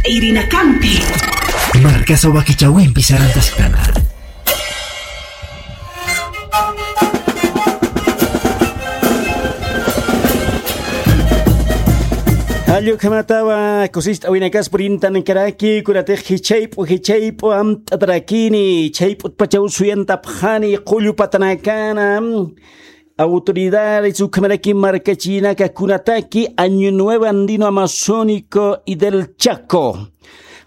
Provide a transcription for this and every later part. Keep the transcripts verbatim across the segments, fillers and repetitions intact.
Irinakampi. Markasa wakichawimpi sarantaskana. Jallukhamatawa kusist'awinakas purintankaraki, kunatix jichhayp'u, jichhayp'u amt'atarakini, jichhayp'utpachaw suyantapxani, qullu patanakana, autoridades ukhamaraki markachinaka kunataki Año Nuevo Andino Amazónico y del Chaco.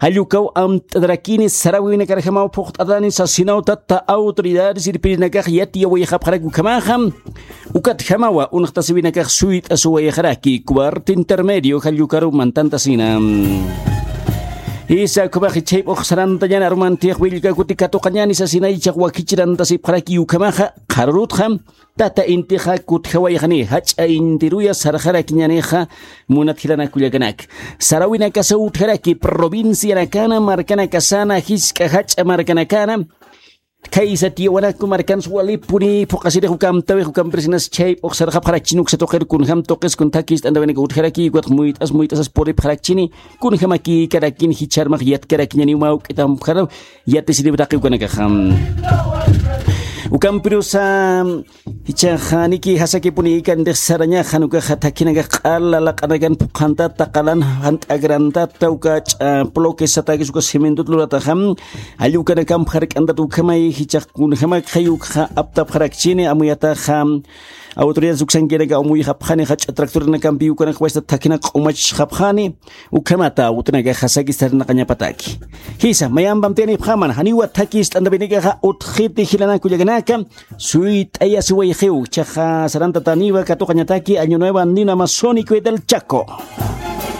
Jallukaw amt'atarakini, sarawinakarjamaw phuqt'atani sasinaw tata autoridades irpirinakax yatiyawayxapxarak ukhamaxa. Ukatjamawa unxtasiwinakax suyt'asuwayxaraki cuarto intermedio jallukaru mantantasina. Jisa ukhamax jichhayp'ux sarantañan arumantix willka kuti katuqañani sasina ichax wakichirantasipxaraki ukhamaxa qharurutxa. Tata intixa kutjawayxani, jach'a intiruya sarxarakiñanixa, munat jilanak kullakanaka. Sarawinakasa utjaraki, provincianakana, markanakasana, jisk'a jach'a markanakana, khaysa tiyawanaku markansa walipuni phuqasirix uka amtawix uka ampresinas chayp'ux sarxapxarakchini uksa tuqir kunjam tuqis kun thakist'antawinak utjaraki, ukatx muyt'as muyt'asas puripxarakchini, kunjamakïkarakin jichharmax yatkarakiñaniw mä juk'itampxaraw, yatisiriw taqi ukanakaxa. Ukampirusa, jichhax niki jasakipuni ikantix sarañaxa, ukaxa thakhinakax q'ala laq'anakan phuqhantata, qalan jant'akrantata, uka ch'a bloques satakis uka cementot lurataxa, jall ukanakamp jark'antata ukhamay, jichhax kunjamakxay ukxa aptapxarakchini, amuyataxa autoridades uksankinaka amuyxapxani, jach'a tractoranakampi ukanakxwaysta thakhinak q'umachxapxani, ukhamata utnakaxa sakis sarnaqañapataki. Jisa, mayampamtiyanipxaman, janiwa thakist'antapinakaxa utjiti jilanak kullakanaka, suyt'ayasiwayxiw, jichhaxa sarantataniwa katuqañataki Año Nuevo Andino Amazónico y del Chaco.